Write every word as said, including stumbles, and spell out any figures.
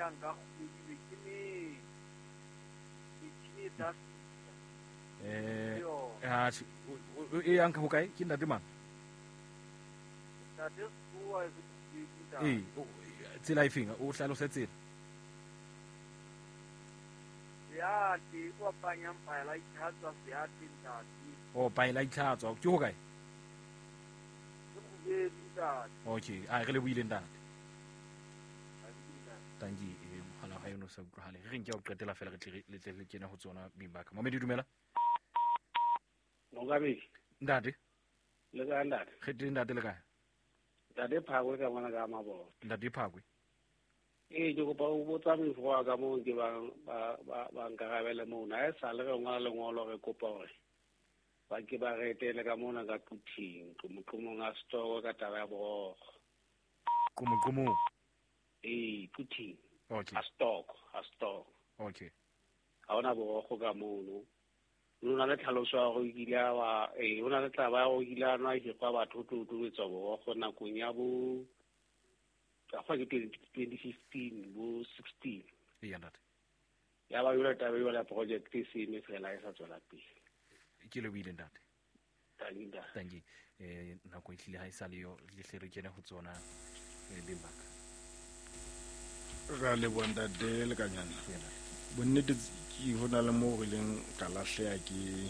yang ka kgwedi ke ne metjhini e tla fihla. Eh Yo. ha e yang ka hokae ke ntate mang? Ntate Sekgowa e se ke ntate. Eh tsela e feng o hlalose tsela? Ya ke kopanyang paela itlhatswa seate ntate. Oh paela itlhatswa ke hokae? Ke Kgubedi ntate. Okay, a re le buile ntate. Tanki e mohala ha yona sa utlwahale. Re reng ke o qetela fela re tle le tle le kene ho tsona bing ba ka. Mamedi dumela. Mongamedi. Ntate. Le kae ntate? Re teng ntate le kae? Ntate Phakwe ka mona ka Mabona. Ntate Phakwe. Ee ke kopa ho botsa mofo wa ka moo ke ba ba ba, ba nkarabele mona. Ha e sale re ngola lengolo re kopa hore ba ke ba re etele ka mona ka Quthing, qomoqomong a setoko ka taba ya borokgo. Qomoqomong. Ee, Quthing. Okay. A stock, a stock. Okay. Ha hona borokgo ka mono. O na le tlhaloso ya hore o kile a wa eh o na le taba ya hore o kile a nwa hikgwa batho ho tlo etswa borokgo nakong ya bo ka fa ke twenty fifteen bo sixteen. Ee ntate. Ya ba yona taba eo ya project e se eme fela e sa tswela pele. Ke le buile ntate. Thank you, ntate. Thank you. Eh nako e hlile ha e sa le yo le hle re kene ho tsona eh beng ba ka. Ra leboha ntate Lekanyana. Bonnete ke ho na le moo re ileng ka lahleha ke